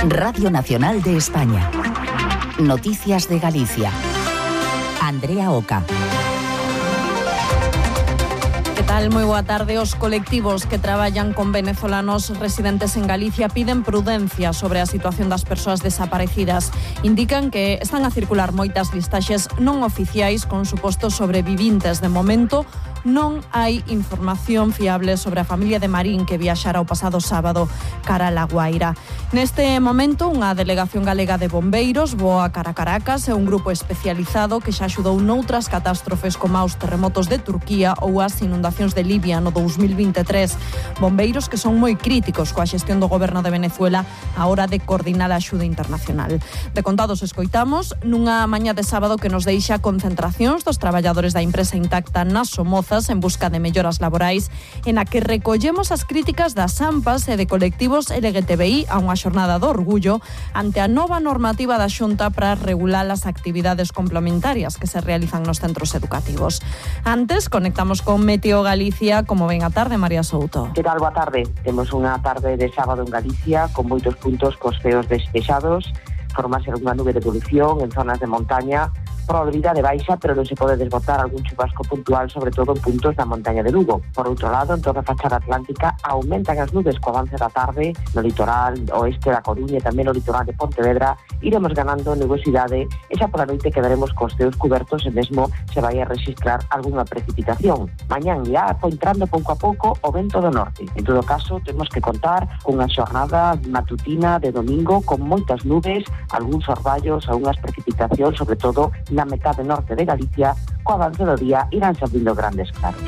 Radio Nacional de España. Noticias de Galicia. Andrea Oca. Que tal? Moi boa tarde. Os colectivos que traballan con venezolanos residentes en Galicia piden prudencia sobre a situación das persoas desaparecidas. Indican que están a circular moitas listaxes non oficiais con supostos sobrevivintes. De momento, non hai información fiable sobre a familia de Marín que viaxara o pasado sábado cara a La Guaira. Neste momento, unha delegación galega de bombeiros voa cara a Caracas e un grupo especializado que xa axudou noutras catástrofes como os terremotos de Turquía ou as inundacións de Libia no 2023. Bombeiros que son moi críticos coa xestión do goberno de Venezuela á hora de coordinar a axuda internacional. De contados escoitamos nunha mañá de sábado que nos deixa concentracións dos traballadores da empresa Intacta nas Somozas en busca de melloras laborais, en a que recollemos as críticas das AMPAs e de colectivos LGTBI a unha xornada do orgullo ante a nova normativa da Xunta para regular as actividades complementarias que se realizan nos centros educativos. Antes, conectamos con Meteo Galicia. Como ven a tarde, María Souto? Que tal? Boa tarde. Temos unha tarde de sábado en Galicia con moitos puntos cos ceos despexados. Formase unha nube de evolución en zonas de montaña, probabilidade baixa, pero non se pode desbotar algún chubasco puntual, sobre todo en puntos da montaña de Lugo. Por outro lado, en toda a fachada atlántica aumentan as nubes co avance da tarde no litoral oeste da Coruña e tamén no litoral de Pontevedra. Iremos ganando nubosidade e xa pola noite quedaremos cos ceos cubertos e mesmo se vai a registrar algunha precipitación. Mañán irá entrando pouco a pouco o vento do norte. En todo caso, temos que contar cunha xornada matutina de domingo con moitas nubes, algúns orballos, algunhas precipitacións, sobre todo na metade norte de Galicia. Co avance do día irán salindo grandes claros.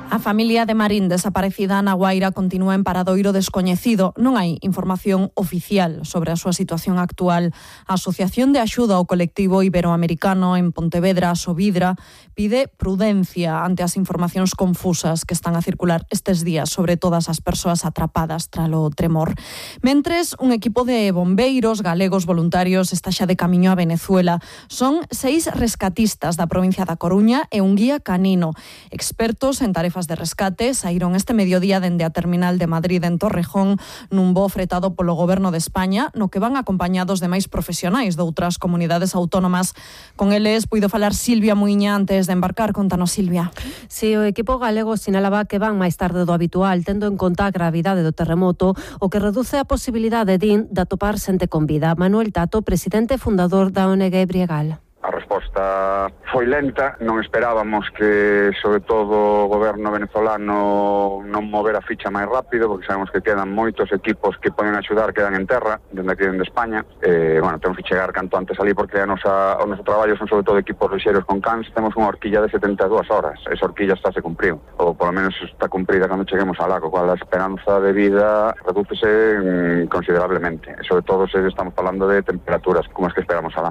A familia de Marín desaparecida na Guaira continúa en paradoiro descoñecido. Non hai información oficial sobre a súa situación actual. A Asociación de Axuda ao Colectivo Iberoamericano en Pontevedra, Sovidra, pide prudencia ante as informacións confusas que están a circular estes días sobre todas as persoas atrapadas tralo tremor. Mentres, un equipo de bombeiros galegos voluntarios está xa de camiño a Venezuela. Son 6 rescatistas da provincia da Coruña e un guía canino. Expertos en tarefas de rescate saíron este mediodía dende a terminal de Madrid en Torrejón nun voo fretado polo Goberno de España, no que van acompañados de máis profesionais de outras comunidades autónomas. Con eles puido falar Silvia Muiña antes de embarcar. Contanos, Silvia. Si, o equipo galego sinalaba que van máis tarde do habitual, tendo en conta a gravidade do terremoto, o que reduce a posibilidade de atopar xente con vida. Manuel Tato, presidente e fundador da ONG Briegal. A resposta foi lenta, non esperábamos que, sobre todo, o goberno venezolano non mover a ficha máis rápido, porque sabemos que quedan moitos equipos que poden axudar, quedan en terra, dende aquí dende España. Temos que chegar canto antes ali, porque o noso traballo son sobre todo equipos lixeiros con cans. Temos unha horquilla de 72 horas, esa horquilla se cumpriu, ou polo menos está cumprida cando cheguemos ao lago, cual a esperanza de vida redúcese considerablemente, e sobre todo se estamos falando de temperaturas como as que esperamos alá.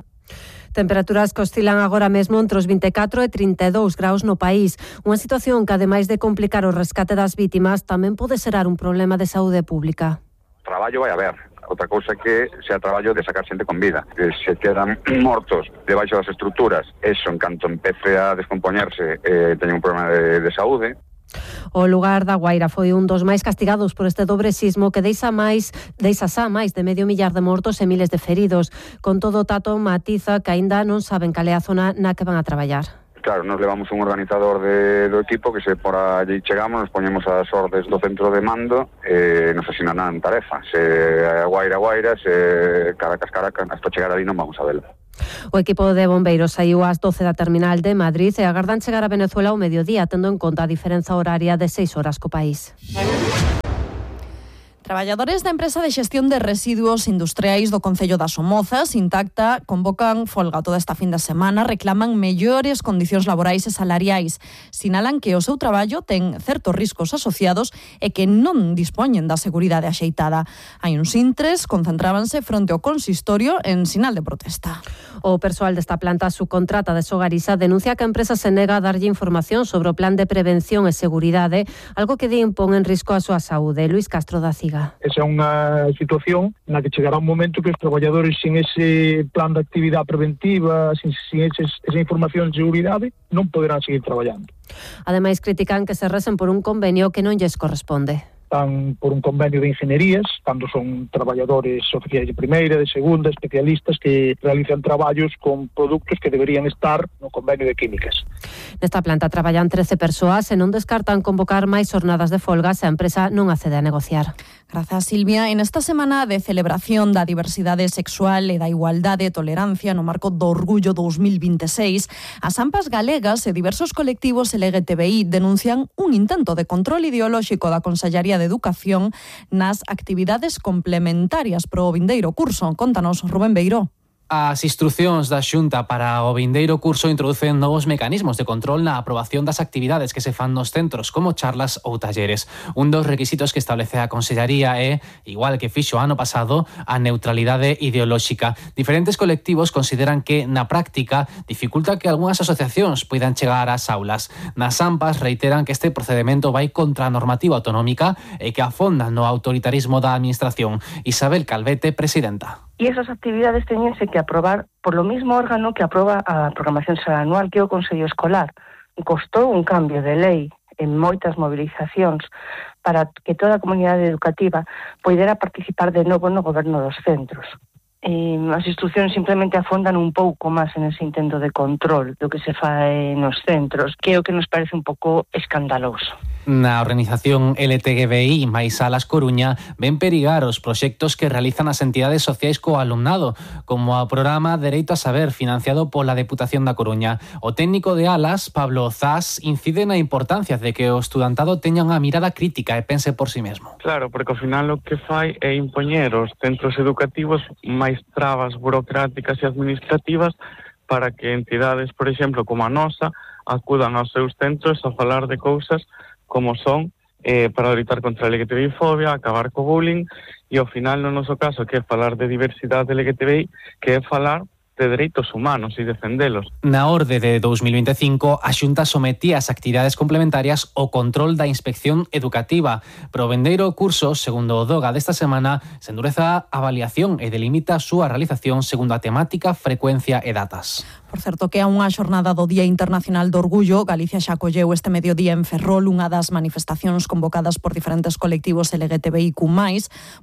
Temperaturas que oscilan agora mesmo entre os 24 e 32 graus no país. Unha situación que, ademais de complicar o rescate das vítimas, tamén pode xerar un problema de saúde pública. Traballo vai haber. Outra cousa que sea traballo de sacar xente con vida. Que se quedan mortos debaixo das estruturas, eso en canto empece a descompoñerse, teñen un problema de saúde. O lugar da Guaira foi un dos máis castigados por este dobre sismo que deixa xa máis de medio millar de mortos e miles de feridos. Con todo, Tato matiza que aínda non saben cal é a zona na que van a traballar. Claro, nos levamos un organizador do equipo que se por allí chegamos, nos poñemos as ordes do centro de mando e nos asinarán tarefa. Se Guaira, se Caracas, hasta chegar ali non vamos a velo. O equipo de bombeiros saiu ás 12 da terminal de Madrid e agardan chegar a Venezuela ao mediodía, tendo en conta a diferenza horaria de 6 horas co país. Traballadores da empresa de xestión de residuos industriais do Concello das Somozas, Intacta, convocan folga toda esta fin de semana, reclaman mellores condicións laborais e salariais. Sinalan que o seu traballo ten certos riscos asociados e que non dispoñen da seguridade axeitada. Hai uns intres, concentrábanse fronte ao consistorio en sinal de protesta. O persoal desta planta subcontrata de Sogarisa denuncia que a empresa se nega a darlle información sobre o plan de prevención e seguridade, algo que di impón en risco a súa saúde. Luís Castro da Ciga. Esa é unha situación na que chegará un momento que os traballadores sin ese plan de actividade preventiva, sin esa información de seguridade, non poderán seguir traballando. Ademais, critican que se resen por un convenio que non lles corresponde. están por un convenio de ingenierías, cando son traballadores oficiais de primeira, de segunda, especialistas que realizan traballos con produtos que deberían estar no convenio de químicas. Nesta planta traballan 13 persoas e non descartan convocar máis jornadas de folga se a empresa non accede a negociar. Grazas, Silvia. En esta semana de celebración da diversidade sexual e da igualdade e tolerancia no marco do Orgullo 2026, as AMPAs galegas e diversos colectivos LGTBI denuncian un intento de control ideolóxico da Consellaría de Educación nas actividades complementarias pro vindeiro curso. Contanos, Rubén Beiró. As instrucións da Xunta para o vindeiro curso introducen novos mecanismos de control na aprobación das actividades que se fan nos centros, como charlas ou talleres. Un dos requisitos que establece a Consellaría é, igual que fixo ano pasado, a neutralidade ideolóxica. Diferentes colectivos consideran que, na práctica, dificulta que algunhas asociacións poidan chegar ás aulas. Nas AMPAs reiteran que este procedemento vai contra a normativa autonómica e que afonda no autoritarismo da administración. Isabel Calvete, presidenta. E esas actividades teñense que aprobar por lo mismo órgano que aproba a programación anual, que é o Consello Escolar. Costou un cambio de lei en moitas movilizacións para que toda a comunidade educativa poidera participar de novo no goberno dos centros. As instruccións simplemente afondan un pouco máis en ese intento de control do que se fai nos centros, que é o que nos parece un pouco escandaloso. Na organización LTGBI máis Salas Coruña ven perigar os proxectos que realizan as entidades sociais co alumnado, como o programa Dereito a Saber, financiado pola Deputación da Coruña. O técnico de Alas, Pablo Zas, incide na importancia de que o estudantado teña unha mirada crítica e pense por si mesmo. Claro, porque ao final o que fai é impoñer aos centros educativos máis trabas burocráticas e administrativas para que entidades, por exemplo, como a nosa, acudan aos seus centros a falar de cousas como son para loitar contra a LGTBI-fobia, acabar co bullying e ao final no noso caso que é falar de diversidade LGTBI, que é falar de dereitos humanos e defendelos. Na orde de 2025, a Xunta sometía as actividades complementarias ao control da inspección educativa. Pero o vendeiro curso, segundo o DOGA desta semana, se endureza a avaliación e delimita a súa realización segundo a temática, frecuencia e datas. Por certo, que a unha xornada do Día Internacional do Orgullo, Galicia xa acolleu este mediodía en Ferrol unha das manifestacións convocadas por diferentes colectivos LGTBIQ+.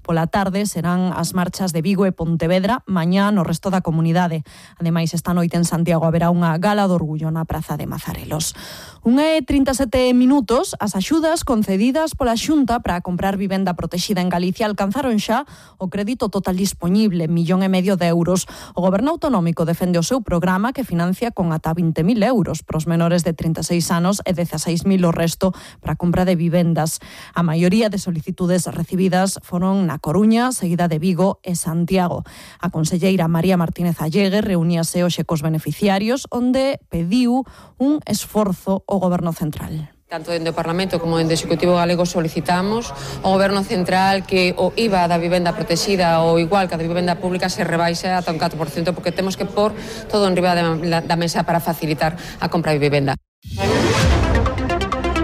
Pola tarde serán as marchas de Vigo e Pontevedra, mañá no resto da comunidade. Ademais, esta noite en Santiago haberá unha gala do orgullo na Praza de Mazarelos. 1:37 minutos, as axudas concedidas pola Xunta para comprar vivenda protexida en Galicia alcanzaron xa o crédito total dispoñible, 1,5 millón de euros. O Goberno Autonómico defende o seu programa que financia con ata 20.000 euros para os menores de 36 anos e 16.000 o resto para a compra de vivendas. A maioría de solicitudes recibidas foron na Coruña, seguida de Vigo e Santiago. A conselleira María Martínez Allegue reuníase hoxe cos beneficiarios, onde pediu un esforzo ao Goberno Central. Tanto dende o Parlamento como dende o Executivo galego solicitamos ao Goberno Central que o IVA da vivenda protexida ou igual que a da vivenda pública se rebaixe ata un 4%, porque temos que pôr todo en riba da mesa para facilitar a compra de vivenda.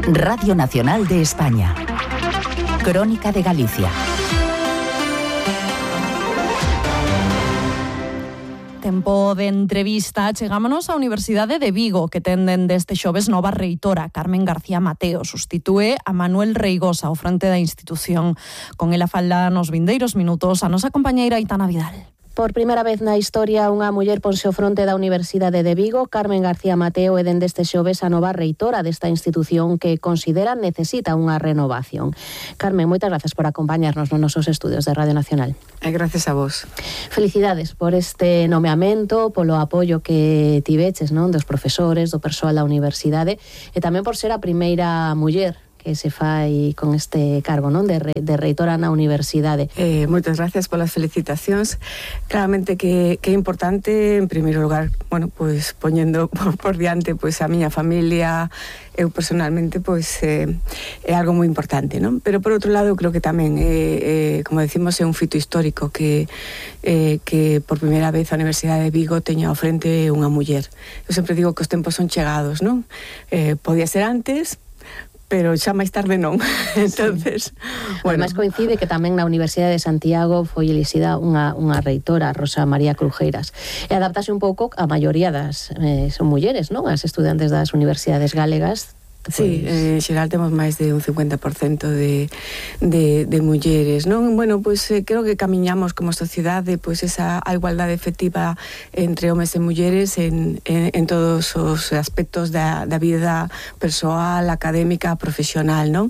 Radio Nacional de España. Crónica de Galicia. Tempo de entrevista, chegámonos á Universidade de Vigo, que ten deste xoves nova reitora, Carmen García Mateo. Sustitúe a Manuel Reigosa ao frente da institución. Con ela fala nos vindeiros minutos a nosa compañeira Aitana Vidal. Por primeira vez na historia, unha muller ponse ao fronte da Universidade de Vigo. Carmen García Mateo é dende este xoves a nova reitora desta institución que considera necesita unha renovación. Carmen, moitas grazas por acompañarnos nos nosos estudios de Radio Nacional. Gracias a vos. Felicidades por este nomeamento, polo apoio que tiveches, non, dos profesores, do persoal da universidade, e tamén por ser a primeira muller que se fai con este cargo, non, de reitora na universidade. Moitas gracias polas felicitacións. Claramente que é importante, en primeiro lugar, bueno, pois poñendo por diante pois a miña familia, eu personalmente pois é algo moi importante, non? Pero por outro lado, creo que tamén como decimos, é un fito histórico que por primeira vez a Universidade de Vigo teña ao frente unha muller. Eu sempre digo que os tempos son chegados, non? Podía ser antes, pero xa máis tarde non. Entonces, bueno. Ademais coincide que tamén na Universidade de Santiago foi elixida unha reitora, Rosa María Crujeiras. E adaptase un pouco a maioría das son mulleres, non? As estudantes das universidades galegas Sí, en xeral temos máis de un 50% de mulleres, non? Bueno, pois creo que camiñamos como sociedade pois esa a igualdade efectiva entre homes e mulleres en todos os aspectos da vida persoal, académica, profesional, non?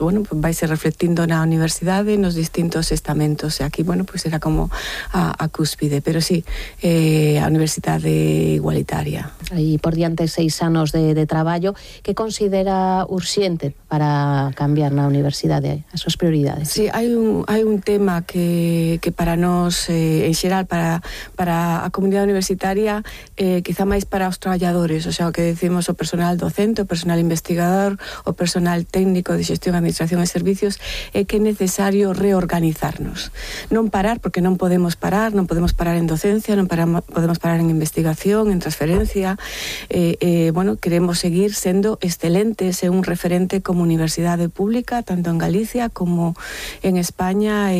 Bueno, pues vai ser reflectindo na universidade, nos distintos estamentos, e aquí, bueno, pues era como a cúspide, pero sí, a universidade igualitaria. Aí por diante 6 anos de traballo. Que considera urxente para cambiar na universidade as súas prioridades? Sí, hai un tema que para nós, en xeral, para a comunidade universitaria, quizá máis para os traballadores, o sea, o que decimos o personal docente, o personal investigador, o personal técnico de xestión, administración e servicios, é que é necesario reorganizarnos. Non parar, porque non podemos parar en docencia, non podemos parar en investigación, en transferencia, bueno, queremos seguir sendo excelentes e un referente como universidade pública, tanto en Galicia como en España,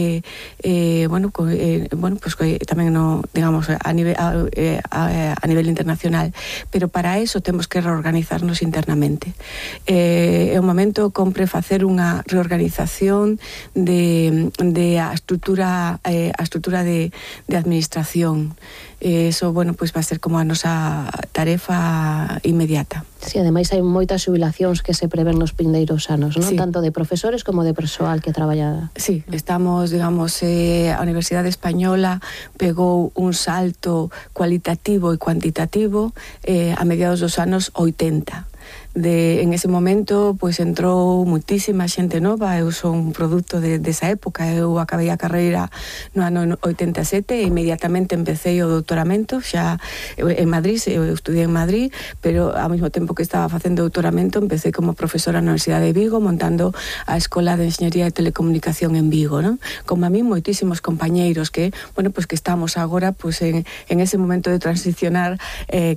bueno, pues tamén no, digamos, a nivel internacional, pero para eso temos que reorganizarnos internamente. É un momento compre facer unha reorganización de a estrutura de administración. Eso, bueno, pues va a ser como a nosa tarefa inmediata. Sí, ademais hai moitas xubilacións que se prevén nos vindeiros anos, non? Sí. Tanto de profesores como de persoal que traballa. Sí, estamos, digamos, a Universidade Española pegou un salto cualitativo e cuantitativo a mediados dos anos 80. En ese momento, pois entrou muitísima xente nova. Eu son un produto desa época. Eu acabei a carreira no ano 87 e inmediatamente empecé o doutoramento xa en Madrid. Eu estudiei en Madrid, pero ao mesmo tempo que estaba facendo doutoramento empecé como profesora na Universidade de Vigo, montando a Escola de Enxeñería e Telecomunicación en Vigo, non? Como a mí moitísimos compañeiros que, bueno, pues que estamos agora pues en ese momento de transicionar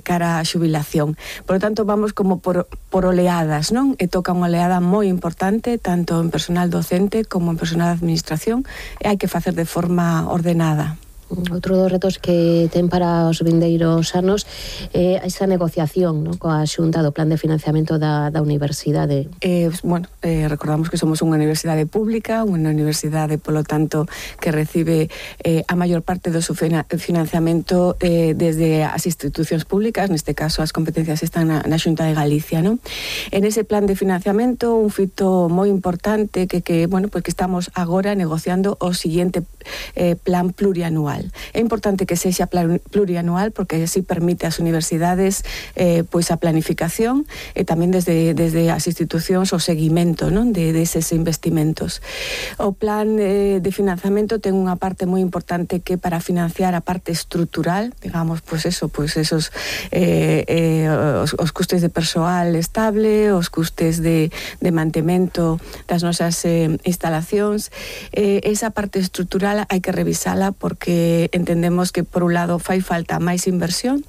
cara á xubilación. Por lo tanto, vamos como por oleadas, non? E toca unha oleada moi importante tanto en personal docente como en personal de administración, e hai que facer de forma ordenada. Outro dos retos que ten para os vindeiros anos é esa negociación, non, coa Xunta do plan de financiamento da universidade. Bueno, recordamos que somos unha universidade pública, unha universidade, polo tanto, que recibe a maior parte do seu financiamento desde as institucións públicas, neste caso as competencias están na Xunta de Galicia, non? En ese plan de financiamento, un fito moi importante que bueno, pues que estamos agora negociando o seguinte plan plurianual. É importante que sexa plurianual porque así permite ás universidades pois a planificación e tamén desde as institucións o seguimento, non, de eses investimentos. O plan de financiamento ten unha parte moi importante que para financiar a parte estrutural, digamos, pois esos os custes de persoal estable, os custes de mantemento das nosas instalacións. Esa parte estrutural hai que revisala porque entendemos que por un lado fai falta máis inversión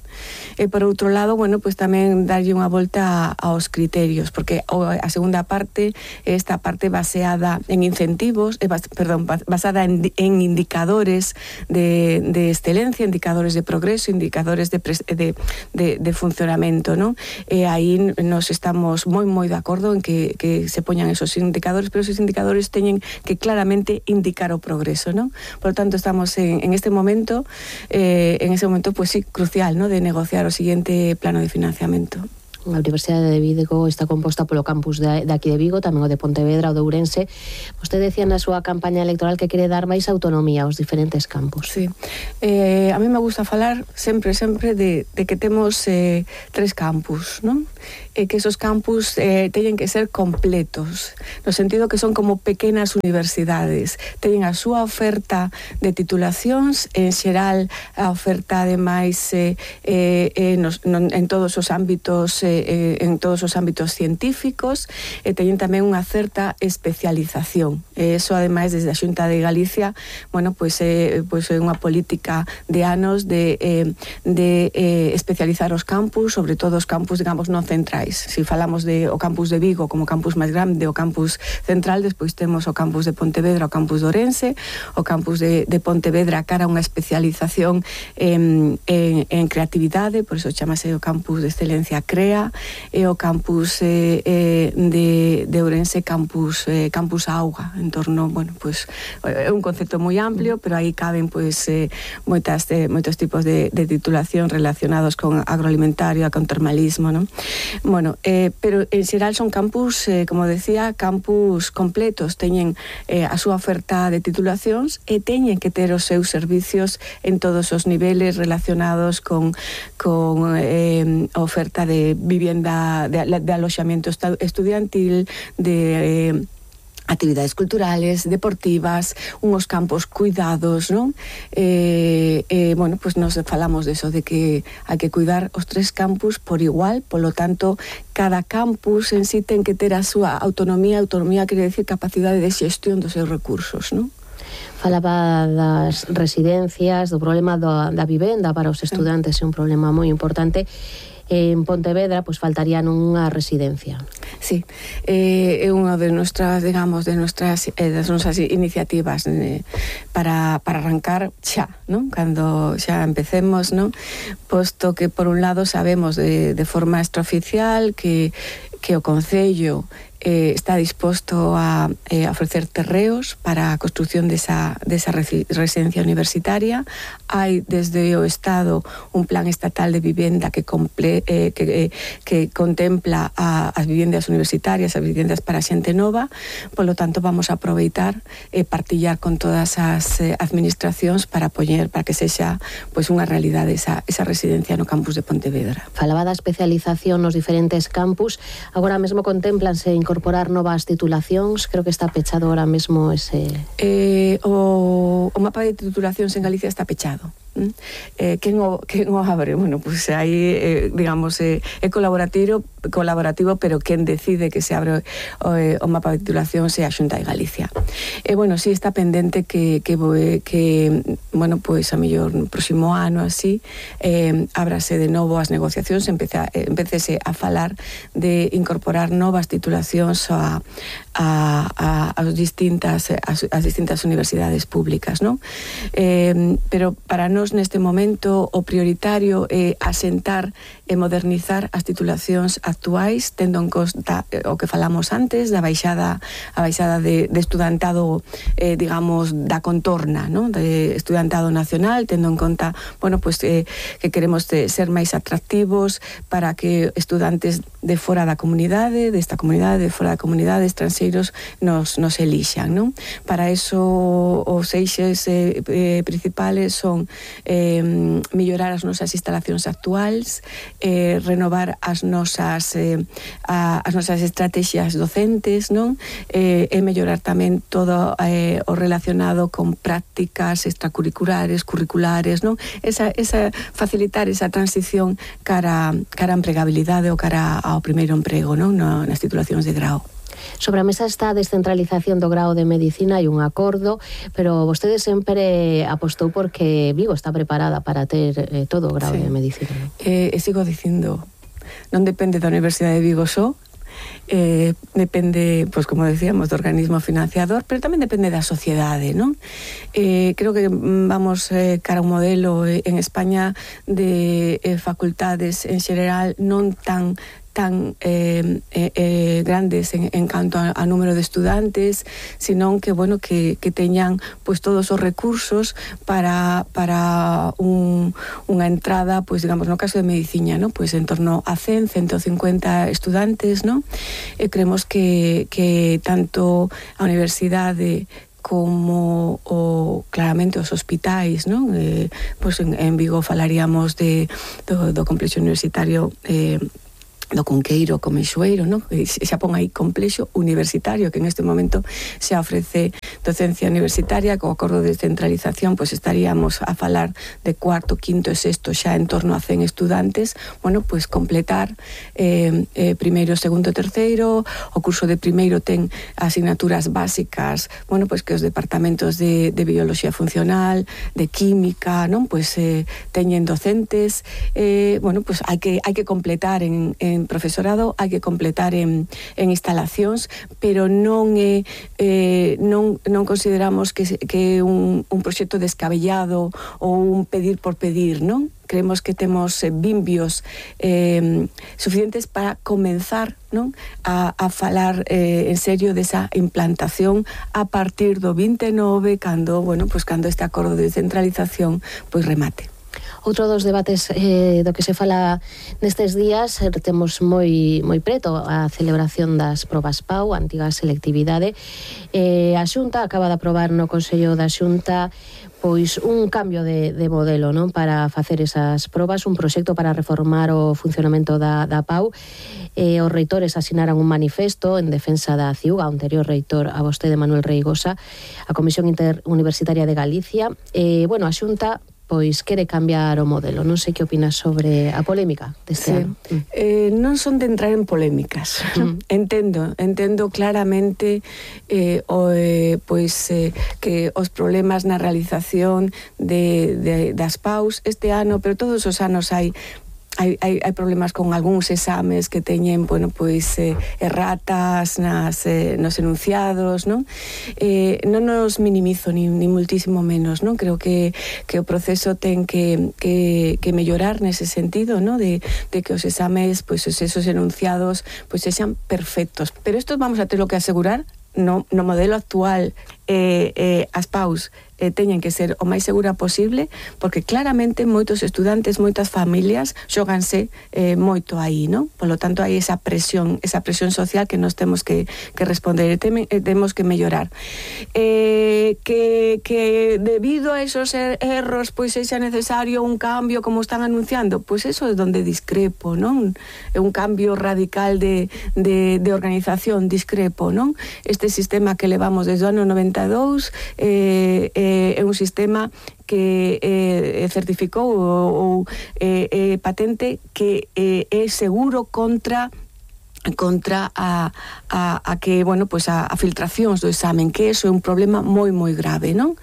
e por outro lado, bueno, pues tamén darlle unha volta aos criterios, porque a segunda parte é esta parte baseada en incentivos, basada en indicadores de excelencia, indicadores de progreso, indicadores de funcionamento, non? E aí nos estamos moi de acordo en que se poñan esos indicadores, pero esos indicadores teñen que claramente indicar o progreso, non? Por lo tanto, estamos en ese momento, pues sí, crucial, ¿no?, de negociar o siguiente plano de financiamento. A Universidade de Vigo está composta polo campus de aquí de Vigo, tamén o de Pontevedra, o de Ourense. Vostede decía na súa campaña electoral que quere dar máis autonomía aos diferentes campus. Sí. A mí me gusta falar sempre de que temos 3 campus, non? E que esos campus teñen que ser completos, no sentido que son como pequenas universidades. Teñen a súa oferta de titulacións, en xeral a oferta ademais en todos os ámbitos científicos, e teñen tamén unha certa especialización. Eso ademais desde a Xunta de Galicia, bueno, pues é unha política de anos de especializar os campus, sobre todo os campus, digamos, non centrais. Si falamos de o campus de Vigo como campus máis grande, o campus central, despois temos o campus de Pontevedra, o campus de Ourense, o campus de Pontevedra cara a unha especialización en creatividade, por iso chamase o campus de excelencia CREA, Aldea e o campus de Ourense, campus Auga, en torno, bueno, pues é un concepto moi amplio, pero aí caben pues moitos tipos de titulación relacionados con agroalimentario, con termalismo, ¿no? Bueno, pero en xeral son campus, como decía, campus completos, teñen a súa oferta de titulacións e teñen que ter os seus servicios en todos os niveles relacionados con oferta de vivienda, de aloxamiento estudiantil, de actividades culturales, deportivas, unos campos cuidados, ¿no? Bueno, pues nos falamos de eso, de que hai que cuidar os 3 campus por igual, polo tanto, cada campus en sí ten que ter a súa autonomía quere decir capacidade de xestión dos seus recursos, ¿no? Falaba das residencias, do problema da vivenda para os estudantes, é un problema moi importante. En Pontevedra, pues faltarían unha residencia. Sí, é unha de nuestras, digamos, das nosas iniciativas para arrancar xa, ¿no? Cando xa empecemos, ¿no? Posto que, por un lado, sabemos de forma extraoficial que o Concello está disposto a ofrecer terreos para a construción desa residencia universitaria. Hai desde o Estado un plan estatal de vivenda que contempla as vivendas universitarias, as vivendas para xente nova. Polo tanto, vamos a aproveitar e partillar con todas as administracións para que sexa pois unha realidade esa residencia no campus de Pontevedra. Falaba da especialización nos diferentes campus. Agora mesmo contemplanse incorporar novas titulacións, creo que está pechado ahora mesmo ese... O mapa de titulacións en Galicia está pechado. Quen o abre? Bueno, pues aí, digamos, é colaborativo, pero quen decide que se abre o mapa de titulación é a Xunta de Galicia. Bueno, sí está pendente que bueno, pues a mellor no próximo ano así, ábrase de novo as negociacións, empecese a falar de incorporar novas titulacións as distintas universidades públicas, ¿no? Pero para nós neste momento o prioritario é asentar e modernizar as titulacións actuais, tendo en conta o que falamos antes da baixada de estudantado, digamos, da contorna, ¿no? De estudantado nacional, tendo en conta, bueno, pues que queremos ser máis atractivos para que estudantes de fora da comunidade, desta comunidade, de fora da comunidade, estranxeiros, nos elixan, ¿no? Para eso os eixes principales son mellorar as nosas instalacións actuais, renovar as nosas estrategias docentes, non? E mellorar tamén todo o relacionado con prácticas extracurriculares, curriculares, non? Facilitar esa transición cara a empregabilidade ou cara ao primeiro emprego, non? Nas titulacións de grao. Sobre a mesa está a descentralización do grao de Medicina, hai un acordo, pero vostede sempre apostou porque Vigo está preparada para ter todo o grao de Medicina. Sigo dicindo, non depende da Universidade de Vigo só, depende, pues como decíamos, do organismo financiador, pero tamén depende da sociedade, non? Creo que vamos cara a un modelo en España de facultades en xeral non tan grandes en canto a número de estudantes, sino que, bueno, que teñan pues todos os recursos para unha entrada, pues digamos, no caso de Medicina, ¿no? Pues en torno a 150 estudantes, ¿no? Creemos que tanto a universidade como claramente os hospitais, non? Pues en Vigo falaríamos do complexo universitario do Cunqueiro, Comeixoeiro, non? Xa pon aí complexo universitario, que en este momento xa ofrece docencia universitaria. Co acordo de descentralización, pois estaríamos a falar de cuarto, quinto e sexto xa en torno a 100 estudantes. Bueno, pois completar primeiro, segundo e terceiro. O curso de primeiro ten asignaturas básicas, bueno, pois que os departamentos de biología funcional, de química, non? Pois teñen docentes. Bueno, pois hai que completar en profesorado, hai que completar en instalacións, pero non non consideramos que é un proxecto descabellado ou un pedir por pedir, non? Creemos que temos vimbios suficientes para comenzar, non, a falar en serio desa implantación a partir do 29, cando este acordo de descentralización pois remate. Outro dos debates do que se fala nestes días, temos moi preto a celebración das probas PAU, a antiga selectividade. A Xunta acaba de aprobar no Consello da Xunta pois un cambio de modelo, non, para facer esas probas, un proxecto para reformar o funcionamento da PAU. Os reitores asinaran un manifesto en defensa da CIUG, o anterior reitor a vostede Manuel Reigosa, a Comisión Interuniversitaria de Galicia. A Xunta pois quere cambiar o modelo. Non sei que opinas sobre a polémica deste ano. Non son de entrar en polémicas. Entendo claramente que os problemas na realización das PAUs este ano, pero todos os anos hai problemas con algúns exames que teñen, erratas nos enunciados, non? Non nos minimizo ni muitísimo menos, non? Creo que o proceso ten que mellorar nese sentido, non? De que os exames, esos enunciados, sexan perfectos. Pero isto vamos a ter que asegurar no modelo actual, as PAUs teñen que ser o máis segura posible, porque claramente moitos estudantes, moitas familias xoganse moito aí, non? Polo tanto, hai esa presión social que nos temos que responder, temos que mellorar. Que debido a esos erros, sexa necesario un cambio como están anunciando, eso é donde discrepo, non? É un cambio radical de organización, discrepo, non? Este sistema que levamos desde o ano 92 é un sistema que certificou ou patente que é seguro contra a que, a filtracións do examen, que eso é un problema moi grave, non?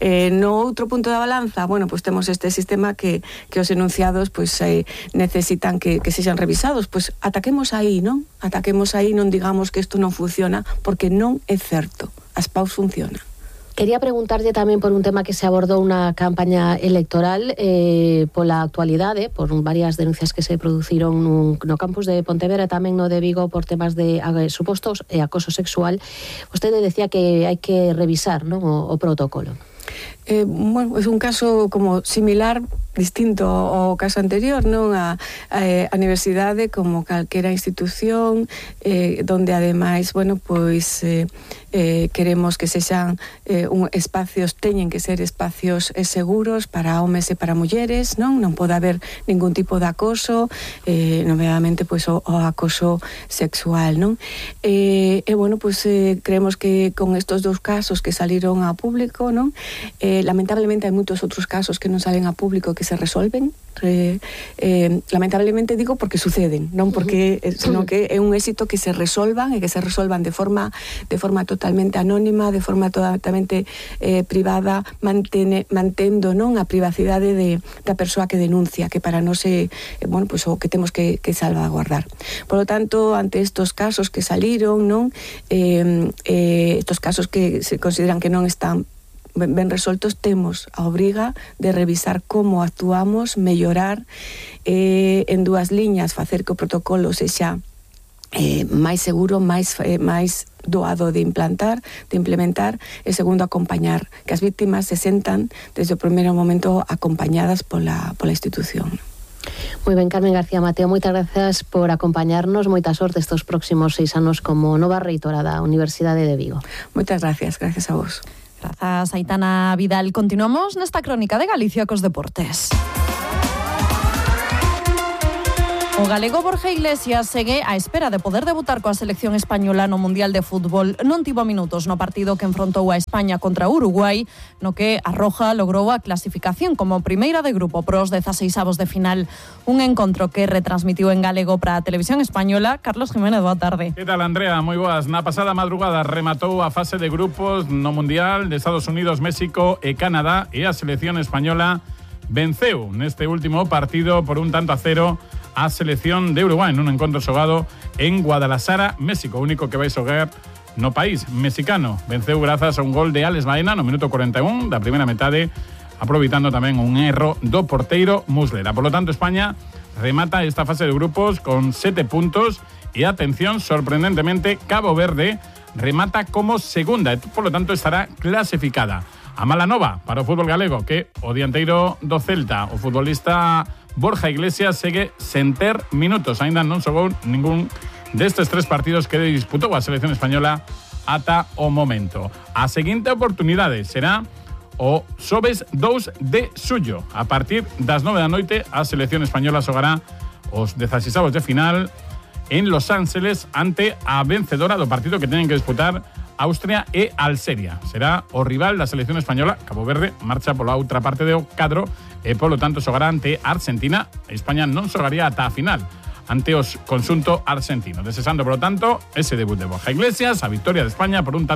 No outro punto da balanza, temos este sistema que os enunciados necesitan que sexan revisados, ataquemos aí, non? Ataquemos aí, non digamos que isto non funciona, porque non é certo, as PAUs funcionan. Quería preguntarlle tamén por un tema que se abordou na campaña electoral pola actualidade, por varias denuncias que se produciron no campus de Pontevedra e tamén no de Vigo por temas de supostos e acoso sexual. Vostede decía que hai que revisar, non, o protocolo. É un caso como similar, distinto ao caso anterior, non? A universidade como calquera institución donde ademais, queremos que sexan espacios, teñen que ser espacios seguros para homes e para mulleres, non pode haber ningún tipo de acoso, nomeadamente o acoso sexual, non? Creemos que con estos dous casos que saliron a público, non? Lamentablemente hai moitos outros casos que non salen a público que se resolven. Lamentablemente digo porque suceden, non porque senón que é un éxito que se resolvan e que se resolvan de forma totalmente anónima, de forma totalmente privada, mantendo, non, a privacidade da persoa que denuncia, que para nós é o que temos que salvaguardar. Por lo tanto, ante estos casos que saliron, non, estos casos que se consideran que non están ben resoltos, temos a obriga de revisar como actuamos, mellorar en dúas liñas, facer que o protocolo sexa máis seguro, máis doado de implementar, e segundo, acompañar, que as víctimas se sentan desde o primeiro momento acompañadas pola institución. Moi ben, Carmen García Mateo, moitas grazas por acompañarnos, moita sorte estes próximos 6 anos como nova reitora da Universidade de Vigo. Moitas gracias a vos. Grazas, Aitana Vidal. Continuamos nesta crónica de Galicia cos deportes. O galego Borja Iglesias segue á espera de poder debutar coa selección española no Mundial de Fútbol. Non tivo minutos no partido que enfrontou a España contra Uruguai, no que a Roja logrou a clasificación como primeira de grupo pros 16avos de final. Un encontro que retransmitiu en galego para a televisión española. Carlos Jiménez, boa tarde. Que tal, Andrea? Moi boas. Na pasada madrugada rematou a fase de grupos no Mundial de Estados Unidos, México e Canadá, e a selección española venceu neste último partido por 1-0 a selección de Uruguai nun encontro xogado en Guadalajara, México. O único que vai xogar no país mexicano. Venceu grazas a un gol de Alex Baena no minuto 41 da primeira metade, aproveitando tamén un erro do porteiro Muslera. Por lo tanto, España remata esta fase de grupos con 7 puntos e, atención, sorprendentemente, Cabo Verde remata como segunda e, por lo tanto, estará clasificada. A mala nova para o fútbol galego, que o dianteiro do Celta, o futbolista Borja Iglesias, segue sen ter minutos. Ainda non xogou ningún destes 3 partidos que disputou a selección española ata o momento. A seguinte oportunidade será o xoves 2 de xullo. A partir das 9 da noite, a selección española xogará os 16avos de final en Los Ángeles ante a vencedora do partido que teñen que disputar Austria e Alxeria. Será o rival da selección española. Cabo Verde marcha pola outra parte do cadro e, polo tanto, xogará ante Argentina. España non xogaría ata a final ante os conxunto argentino. Desexando, polo tanto, ese debut de Borja Iglesias, a victoria de España por 1-0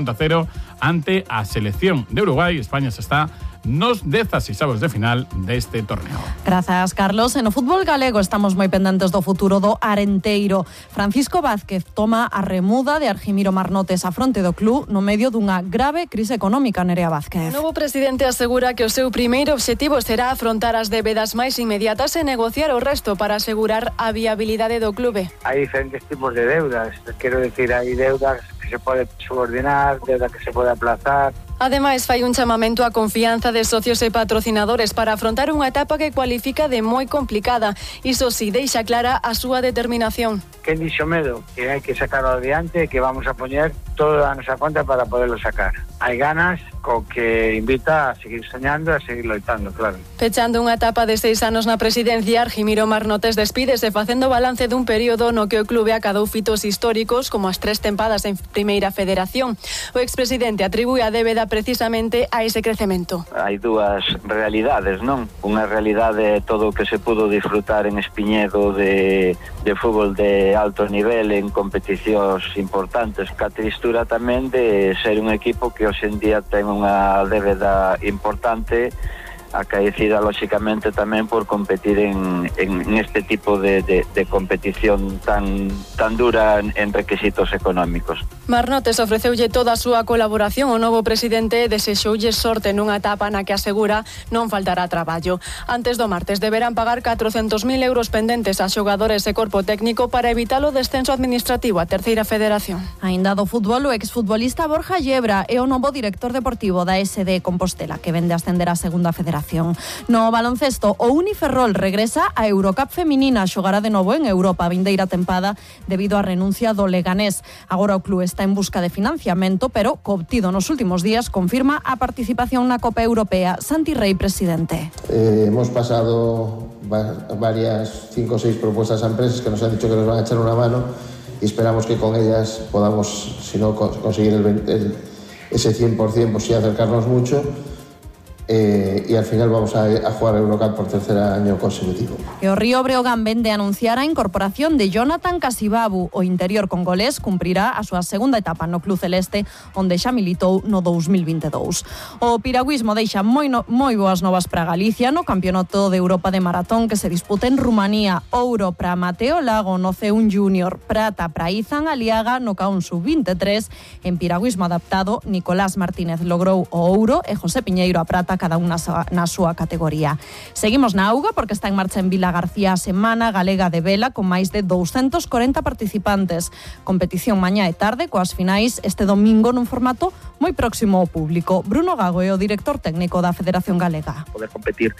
ante a selección de Uruguai. España se está nos 16avos de final deste torneo. Grazas, Carlos. En o fútbol galego estamos moi pendentes do futuro do Arenteiro. Francisco Vázquez toma a remuda de Argimiro Marnotes a fronte do club no medio dunha grave crise económica. Nerea Vázquez. O novo presidente asegura que o seu primeiro obxectivo será afrontar as débedas máis inmediatas e negociar o resto para asegurar a viabilidade do clube. Hai diferentes tipos de deudas. Quero decir, hai deudas que se pode subordinar, deuda que se pode aplazar. Ademais, fai un chamamento á confianza de socios e patrocinadores para afrontar unha etapa que cualifica de moi complicada. Iso si, deixa clara a súa determinación. Quen dixo medo? Que hai que sacarlo adiante e que vamos a poñer toda a nosa conta para poderlo sacar. Hai ganas, co que invita a seguir soñando e a seguir loitando, claro. Pechando unha etapa de 6 anos na presidencia, Argimiro Marnotes despídese facendo balance dun período no que o clube acadou fitos históricos como as 3 tempadas en Primeira Federación. O expresidente atribúe a débeda precisamente a ese crecemento. Hai dúas realidades, non? Unha realidade todo o que se pudo disfrutar en Espiñedo de fútbol de alto nivel en competicións importantes, ca tristura tamén de ser un equipo que hoxe en día ten unha débeda importante acaecida lóxicamente tamén por competir en este tipo de competición tan dura en requisitos económicos. Marnotes ofreceulle toda a súa colaboración ao novo presidente e desexoulle sorte nunha etapa na que asegura non faltará traballo. Antes do martes deberán pagar 400.000 euros pendentes a xogadores e corpo técnico para evitar o descenso administrativo a Terceira Federación. Aínda do fútbol, o exfutbolista Borja Yebra é o novo director deportivo da SD Compostela, que vende a ascender a Segunda Federación. No baloncesto, o Uniferrol regresa a Eurocup feminina, xogará de novo en Europa a vindeira tempada debido á renuncia do Leganés. Agora o club está en busca de financiamento, pero coobtido nos últimos días confirma a participación na Copa Europea. Santi Rey, presidente. Hemos pasado varias 5 o 6 propuestas a empresas que nos han dicho que nos van a echar una mano y esperamos que con ellas podamos, si no conseguir ese 100%, pues sí acercarnos mucho. Y al final vamos a jugar a Eurocup por 3er año consecutivo. E o Río Breogán vende anunciar a incorporación de Jonathan Casibabu. O interior congolés cumprirá a súa segunda etapa no Club Celeste, onde xa militou no 2022. O piragüismo deixa moi boas novas para Galicia no Campeonato de Europa de Maratón que se disputa en Rumanía. Ouro para Mateo Lago no C1 Junior, prata para Izan Aliaga no K1 Sub-23. En piragüismo adaptado, Nicolás Martínez logrou o ouro e José Piñeiro a prata, cada unha na súa categoría. Seguimos na auga porque está en marcha en Vila García a Semana Galega de Vela con máis de 240 participantes. Competición mañá e tarde coas finais este domingo nun formato moi próximo ao público. Bruno Gago é o director técnico da Federación Galega. Poder competir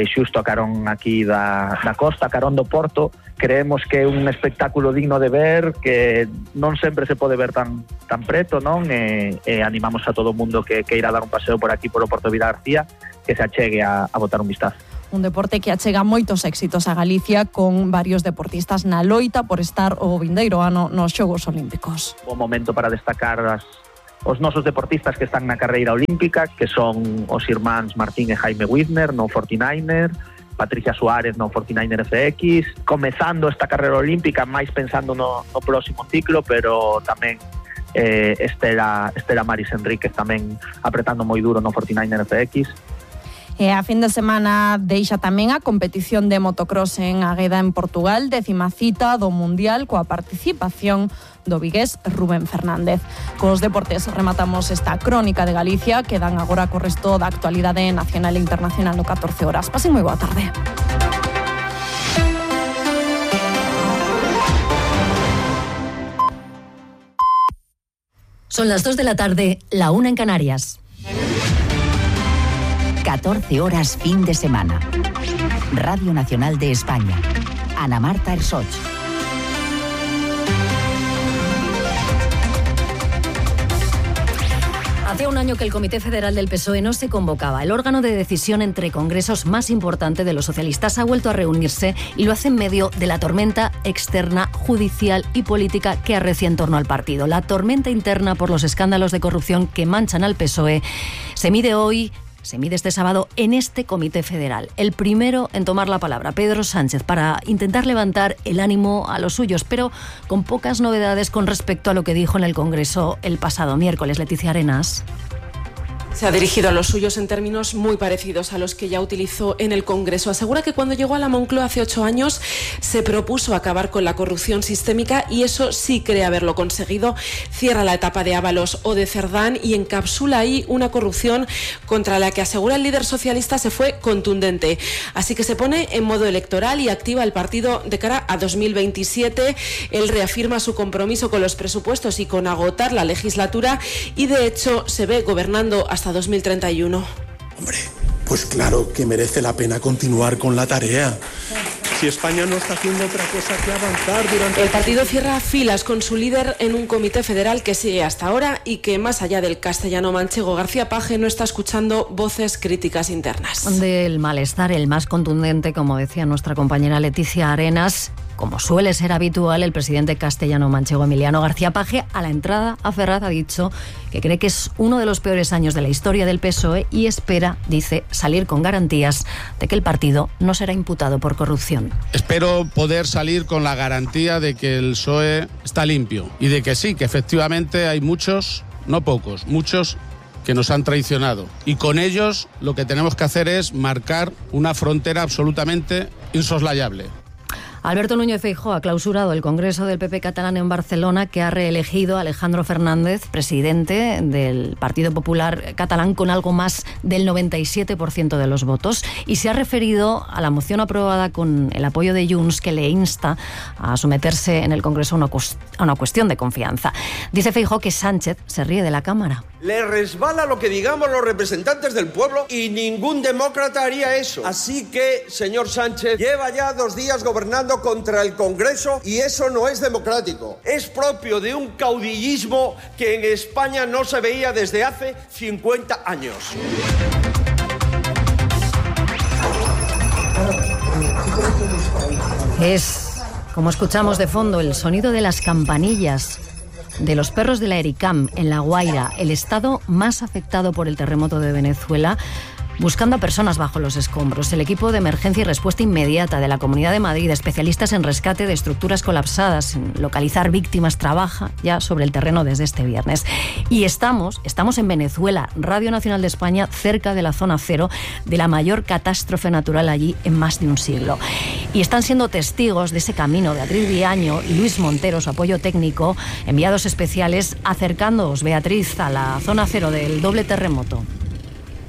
xusto a carón aquí da costa, a carón do Porto, creemos que é un espectáculo digno de ver, que non sempre se pode ver tan preto, non? E animamos a todo o mundo que irá dar un paseo por aquí, por o Porto de Vila García, que se achegue a botar un vistazo. Un deporte que achega moitos éxitos a Galicia con varios deportistas na loita por estar o vindeiro ano nos Xogos Olímpicos. Un momento para destacar os nosos deportistas que están na carreira olímpica, que son os irmáns Martín e Jaime Widmer no 49er, Patricia Suárez no 49er FX, comezando esta carreira olímpica máis pensando no próximo ciclo, pero tamén Estela Maris Enríquez tamén apretando moi duro no 49er FX. E a fin de semana deixa tamén a competición de motocross en Águeda, en Portugal, 10ª cita do Mundial, coa participación do vigués Rubén Fernández. Cos deportes rematamos esta crónica de Galicia, que dan agora co resto da actualidade nacional e internacional no 14 horas. Pasen moi boa tarde. Son las 2 de la tarde, la 1 en Canarias. 14 horas fin de semana. Radio Nacional de España. Ana Marta Ersoch. Hacía un año que el Comité Federal del PSOE no se convocaba. El órgano de decisión entre congresos más importante de los socialistas ha vuelto a reunirse y lo hace en medio de la tormenta externa, judicial y política que arrecia en torno al partido. La tormenta interna por los escándalos de corrupción que manchan al PSOE se mide este sábado en este Comité Federal. El primero en tomar la palabra, Pedro Sánchez, para intentar levantar el ánimo a los suyos, pero con pocas novedades con respecto a lo que dijo en el Congreso el pasado miércoles. Leticia Arenas. Se ha dirigido a los suyos en términos muy parecidos a los que ya utilizó en el Congreso. Asegura que cuando llegó a la Moncloa hace 8 años se propuso acabar con la corrupción sistémica y eso sí cree haberlo conseguido. Cierra la etapa de Ábalos o de Cerdán y encapsula ahí una corrupción contra la que asegura el líder socialista se fue contundente. Así que se pone en modo electoral y activa el partido de cara a 2027. Él reafirma su compromiso con los presupuestos y con agotar la legislatura y de hecho se ve gobernando hasta 2031. Hombre, pues claro que merece la pena continuar con la tarea. Si España no está haciendo otra cosa que avanzar durante... El partido cierra filas con su líder en un comité federal que sigue hasta ahora y que, más allá del castellano manchego, García Page no está escuchando voces críticas internas. Del malestar, el más contundente, como decía nuestra compañera Leticia Arenas. Como suele ser habitual, el presidente castellano-manchego Emiliano García Page, a la entrada a Ferraz, ha dicho que cree que es uno de los peores años de la historia del PSOE y espera, dice, salir con garantías de que el partido no será imputado por corrupción. Espero poder salir con la garantía de que el PSOE está limpio y de que sí, que efectivamente hay muchos, no pocos, muchos que nos han traicionado. Y con ellos lo que tenemos que hacer es marcar una frontera absolutamente insoslayable. Alberto Núñez Feijóo ha clausurado el Congreso del PP catalán en Barcelona, que ha reelegido a Alejandro Fernández, presidente del Partido Popular catalán, con algo más del 97% de los votos, y se ha referido a la moción aprobada con el apoyo de Junts, que le insta a someterse en el Congreso a una cuestión de confianza. Dice Feijóo que Sánchez se ríe de la Cámara. Le resbala lo que digamos los representantes del pueblo y ningún demócrata haría eso. Así que, señor Sánchez, lleva ya 2 días gobernando contra el Congreso y eso no es democrático. Es propio de un caudillismo que en España no se veía desde hace 50 años. Es, como escuchamos de fondo, el sonido de las campanillas de los perros de la Ericam en La Guaira, el estado más afectado por el terremoto de Venezuela, buscando a personas bajo los escombros. El equipo de emergencia y respuesta inmediata de la Comunidad de Madrid, especialistas en rescate de estructuras colapsadas, en localizar víctimas, trabaja ya sobre el terreno desde este viernes. Y estamos en Venezuela, Radio Nacional de España, cerca de la zona cero de la mayor catástrofe natural allí en más de un siglo. Y están siendo testigos de ese camino Beatriz Viaño y Luis Montero, su apoyo técnico, enviados especiales, acercándoos, Beatriz, a la zona cero del doble terremoto.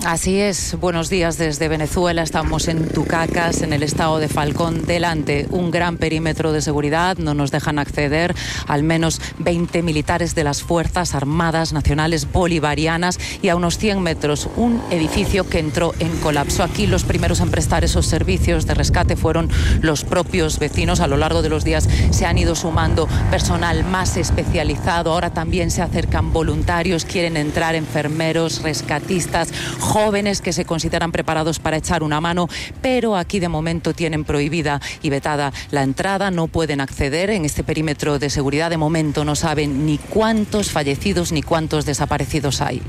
Así es, buenos días desde Venezuela, estamos en Tucacas, en el estado de Falcón, delante un gran perímetro de seguridad, no nos dejan acceder al menos 20 militares de las Fuerzas Armadas Nacionales Bolivarianas y a unos 100 metros un edificio que entró en colapso. Aquí los primeros en prestar esos servicios de rescate fueron los propios vecinos. A lo largo de los días se han ido sumando personal más especializado, ahora también se acercan voluntarios, quieren entrar enfermeros, rescatistas, jóvenes que se consideran preparados para echar una mano, pero aquí de momento tienen prohibida y vetada la entrada, no pueden acceder en este perímetro de seguridad. De momento no saben ni cuántos fallecidos ni cuántos desaparecidos hay.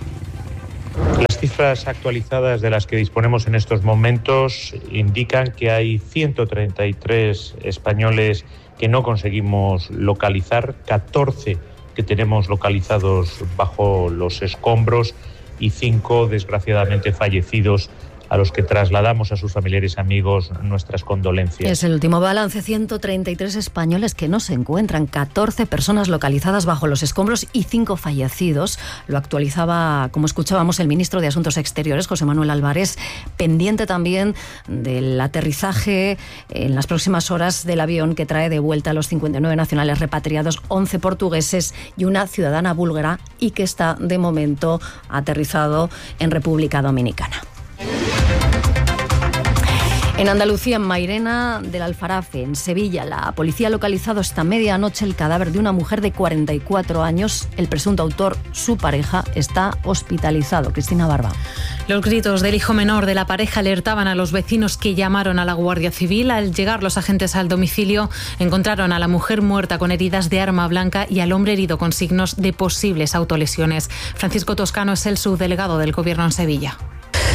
Las cifras actualizadas de las que disponemos en estos momentos indican que hay 133 españoles que no conseguimos localizar, 14 que tenemos localizados bajo los escombros y 5 desgraciadamente fallecidos a los que trasladamos a sus familiares y amigos nuestras condolencias. Es el último balance, 133 españoles que no se encuentran, 14 personas localizadas bajo los escombros y 5 fallecidos. Lo actualizaba, como escuchábamos, el ministro de Asuntos Exteriores, José Manuel Álvarez, pendiente también del aterrizaje en las próximas horas del avión que trae de vuelta a los 59 nacionales repatriados, 11 portugueses y una ciudadana búlgara, y que está de momento aterrizado en República Dominicana. En Andalucía, en Mairena del Aljarafe, en Sevilla, la policía ha localizado esta medianoche el cadáver de una mujer de 44 años. El presunto autor, su pareja, está hospitalizado. Cristina Barba. Los gritos del hijo menor de la pareja alertaban a los vecinos, que llamaron a la Guardia Civil. Al llegar los agentes al domicilio, encontraron a la mujer muerta con heridas de arma blanca y al hombre herido con signos de posibles autolesiones. Francisco Toscano es el subdelegado del Gobierno en Sevilla.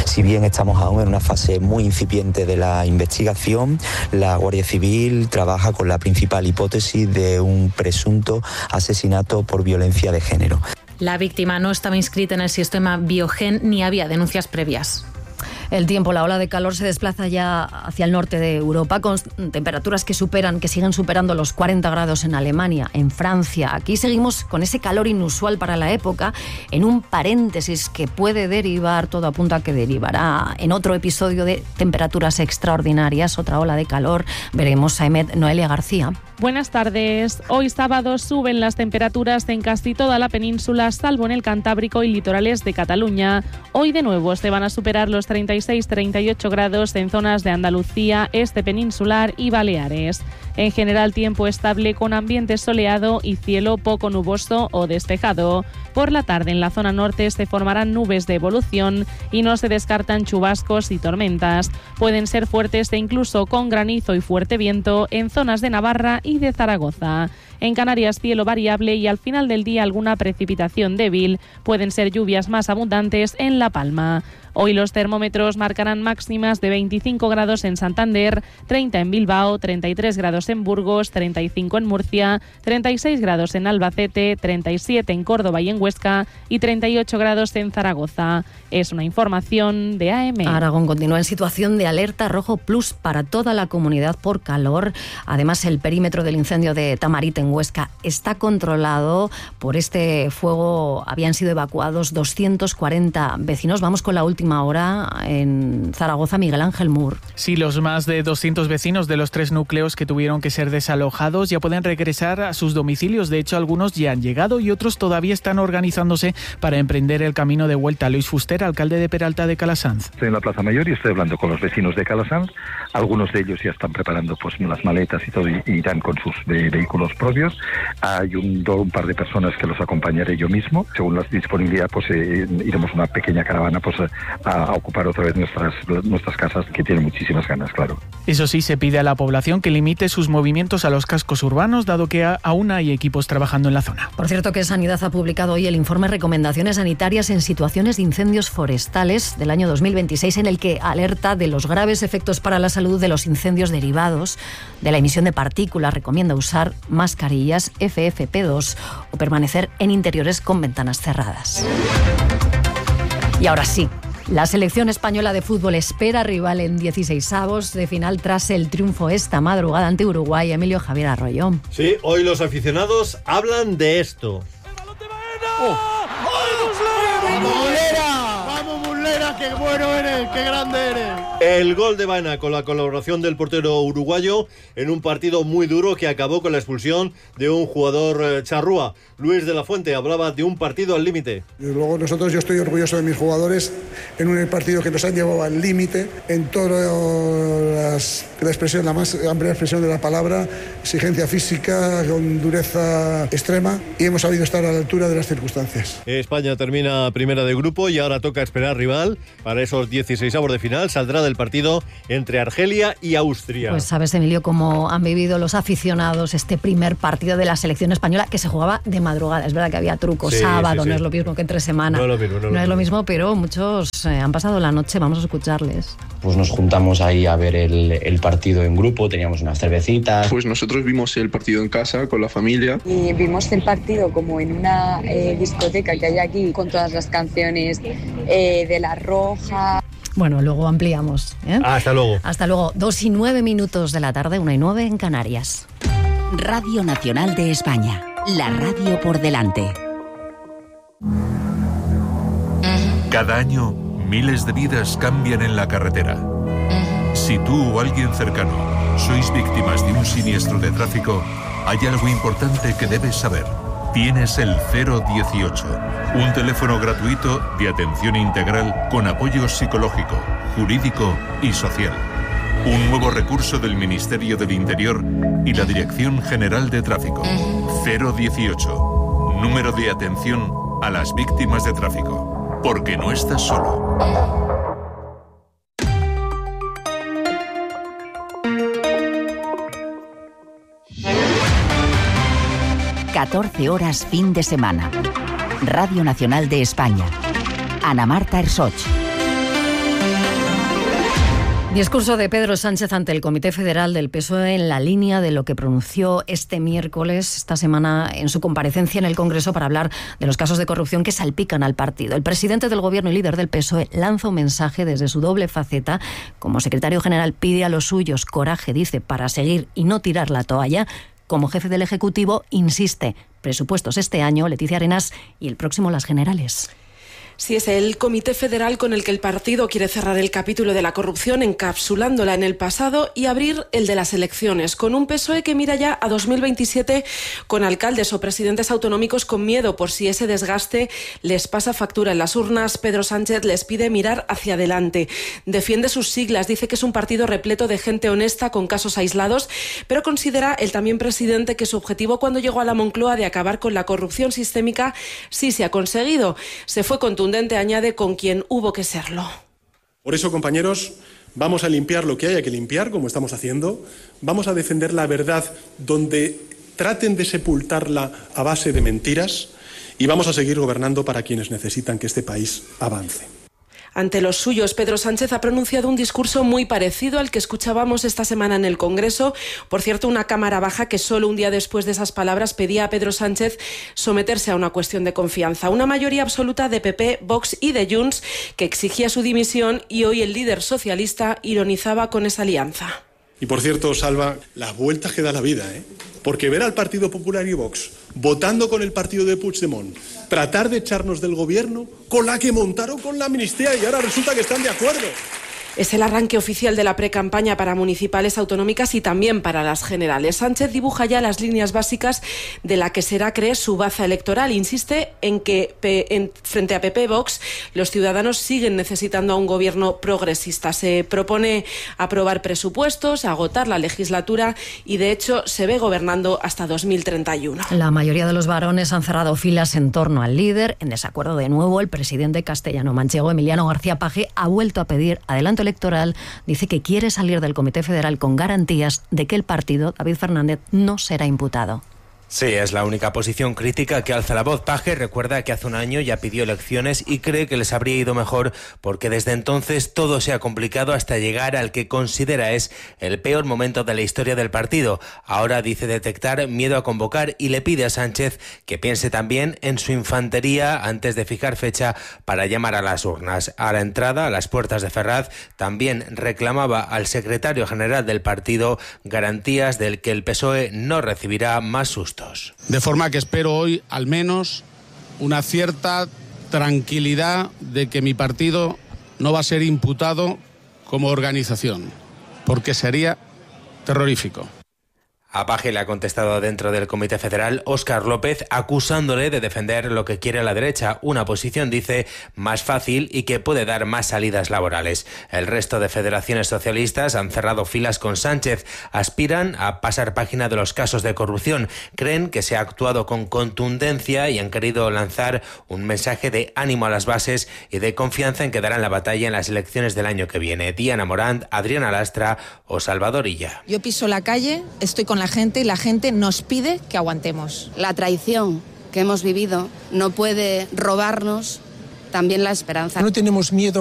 Si bien estamos aún en una fase muy incipiente de la investigación, la Guardia Civil trabaja con la principal hipótesis de un presunto asesinato por violencia de género. La víctima no estaba inscrita en el sistema Biogen ni había denuncias previas. El tiempo, la ola de calor se desplaza ya hacia el norte de Europa con temperaturas que siguen superando los 40 grados en Alemania, en Francia. Aquí seguimos con ese calor inusual para la época, en un paréntesis que puede derivar, todo apunta a que derivará en otro episodio de temperaturas extraordinarias, otra ola de calor. Veremos a Noelia García. Buenas tardes. Hoy sábado suben las temperaturas en casi toda la península, salvo en el Cantábrico y litorales de Cataluña. Hoy de nuevo se van a superar los 36-38 grados en zonas de Andalucía, este peninsular y Baleares. En general, tiempo estable con ambiente soleado y cielo poco nuboso o despejado. Por la tarde en la zona norte se formarán nubes de evolución y no se descartan chubascos y tormentas. Pueden ser fuertes e incluso con granizo y fuerte viento en zonas de Navarra y de Zaragoza. En Canarias, cielo variable y al final del día alguna precipitación débil. Pueden ser lluvias más abundantes en La Palma. Hoy los termómetros marcarán máximas de 25 grados en Santander, 30 en Bilbao, 33 grados en Burgos, 35 en Murcia, 36 grados en Albacete, 37 en Córdoba y en Huesca y 38 grados en Zaragoza. Es una información de AM. Aragón continúa en situación de alerta rojo plus para toda la comunidad por calor. Además, el perímetro del incendio de Tamarit en Huesca está controlado. Por este fuego habían sido evacuados 240 vecinos. Vamos con la última hora en Zaragoza, Miguel Ángel Mur. Sí, los más de 200 vecinos de los 3 núcleos que tuvieron que ser desalojados ya pueden regresar a sus domicilios. De hecho, algunos ya han llegado y otros todavía están organizándose para emprender el camino de vuelta. Luis Fuster, alcalde de Peralta de Calasanz. Estoy en la Plaza Mayor y estoy hablando con los vecinos de Calasanz. Algunos de ellos ya están preparando pues las maletas y todo, y irán con sus vehículos propios. Hay un par de personas que los acompañaré yo mismo. Según la disponibilidad, pues iremos una pequeña caravana pues a ocupar otra vez nuestras casas, que tienen muchísimas ganas, claro. Eso sí, se pide a la población que limite sus movimientos a los cascos urbanos, dado que aún hay equipos trabajando en la zona. Por cierto, que Sanidad ha publicado hoy el informe Recomendaciones Sanitarias en Situaciones de Incendios Forestales del año 2026, en el que alerta de los graves efectos para la salud de los incendios derivados de la emisión de partículas. Recomienda usar mascarillas FFP2 o permanecer en interiores con ventanas cerradas. Y ahora sí, la selección española de fútbol espera rival en 16avos de final tras el triunfo esta madrugada ante Uruguay. Emilio Javier Arroyo. Sí, hoy los aficionados hablan de esto. ¡Vamos, Muslera! ¡Vamos, Muslera! ¡Qué bueno eres! ¡Qué grande eres! El gol de Baena con la colaboración del portero uruguayo en un partido muy duro que acabó con la expulsión de un jugador charrúa. Luis de la Fuente hablaba de un partido al límite. Luego yo estoy orgulloso de mis jugadores en un partido que nos han llevado al límite en todas la expresión, la más amplia expresión de la palabra, exigencia física con dureza extrema, y hemos sabido estar a la altura de las circunstancias. España termina primera de grupo y ahora toca esperar rival para esos 16avos de final. Saldrá del partido entre Argelia y Austria. Pues sabes, Emilio, cómo han vivido los aficionados este primer partido de la selección española, que se jugaba de madrugada. Es verdad que había trucos, sábado, no es lo mismo que entre semana. No es lo mismo, pero muchos han pasado la noche. Vamos a escucharles. Pues nos juntamos ahí a ver el partido en grupo, teníamos unas cervecitas. Pues nosotros vimos el partido en casa con la familia. Y vimos el partido como en una discoteca que hay aquí, con todas las canciones de La Roja. Bueno, luego ampliamos. Hasta luego. Hasta luego. 2:09 de la tarde, 1:09 en Canarias. Radio Nacional de España. La radio por delante. Cada año, miles de vidas cambian en la carretera. Si tú o alguien cercano sois víctimas de un siniestro de tráfico, hay algo importante que debes saber. Tienes el 018, un teléfono gratuito de atención integral con apoyo psicológico, jurídico y social. Un nuevo recurso del Ministerio del Interior y la Dirección General de Tráfico. 018, número de atención a las víctimas de tráfico. Porque no estás solo. 14 horas fin de semana. Radio Nacional de España. Ana Marta Ersoch. Discurso de Pedro Sánchez ante el Comité Federal del PSOE en la línea de lo que pronunció este miércoles, esta semana, en su comparecencia en el Congreso para hablar de los casos de corrupción que salpican al partido. El presidente del Gobierno y líder del PSOE lanza un mensaje desde su doble faceta. Como secretario general pide a los suyos coraje, dice, para seguir y no tirar la toalla. Como jefe del Ejecutivo insiste, presupuestos este año, Leticia Arenas, y el próximo las generales. Sí, es el Comité Federal con el que el partido quiere cerrar el capítulo de la corrupción, encapsulándola en el pasado, y abrir el de las elecciones, con un PSOE que mira ya a 2027 con alcaldes o presidentes autonómicos con miedo por si ese desgaste les pasa factura en las urnas. Pedro Sánchez les pide mirar hacia adelante. Defiende sus siglas, dice que es un partido repleto de gente honesta con casos aislados, pero considera el también presidente que su objetivo cuando llegó a la Moncloa de acabar con la corrupción sistémica sí se ha conseguido. Se fue contundente, añade, con quien hubo que serlo. Por eso, compañeros, vamos a limpiar lo que haya que limpiar, como estamos haciendo. Vamos a defender la verdad donde traten de sepultarla a base de mentiras, y vamos a seguir gobernando para quienes necesitan que este país avance. Ante los suyos, Pedro Sánchez ha pronunciado un discurso muy parecido al que escuchábamos esta semana en el Congreso. Por cierto, una cámara baja que solo un día después de esas palabras pedía a Pedro Sánchez someterse a una cuestión de confianza. Una mayoría absoluta de PP, Vox y de Junts que exigía su dimisión, y hoy el líder socialista ironizaba con esa alianza. Y por cierto, Salva, las vueltas que da la vida, porque ver al Partido Popular y Vox votando con el partido de Puigdemont, tratar de echarnos del gobierno con la que montaron con la amnistía, y ahora resulta que están de acuerdo. Es el arranque oficial de la precampaña para municipales, autonómicas y también para las generales. Sánchez dibuja ya las líneas básicas de la que será, cree, su baza electoral. Insiste en que frente a PP Vox los ciudadanos siguen necesitando a un gobierno progresista. Se propone aprobar presupuestos, agotar la legislatura y, de hecho, se ve gobernando hasta 2031. La mayoría de los varones han cerrado filas en torno al líder. En desacuerdo de nuevo, el presidente castellano-manchego, Emiliano García Paje, ha vuelto a pedir adelanto electoral. Dice que quiere salir del Comité Federal con garantías de que el partido, David Fernández, no será imputado. Sí, es la única posición crítica que alza la voz. Paje recuerda que hace un año ya pidió elecciones y cree que les habría ido mejor porque desde entonces todo se ha complicado hasta llegar al que considera es el peor momento de la historia del partido. Ahora dice detectar miedo a convocar y le pide a Sánchez que piense también en su infantería antes de fijar fecha para llamar a las urnas. A la entrada, a las puertas de Ferraz, también reclamaba al secretario general del partido garantías del que el PSOE no recibirá más sustos. De forma que espero hoy, al menos, una cierta tranquilidad de que mi partido no va a ser imputado como organización, porque sería terrorífico. A Paje le ha contestado dentro del Comité Federal Óscar López, acusándole de defender lo que quiere la derecha, una posición, dice, más fácil y que puede dar más salidas laborales. El resto de federaciones socialistas han cerrado filas con Sánchez, aspiran a pasar página de los casos de corrupción, creen que se ha actuado con contundencia y han querido lanzar un mensaje de ánimo a las bases y de confianza en que darán la batalla en las elecciones del año que viene. Diana Morant, Adriana Lastra o Salvador Illa. Yo piso la calle, estoy con la gente y la gente nos pide que aguantemos. La traición que hemos vivido no puede robarnos también la esperanza. No tenemos miedo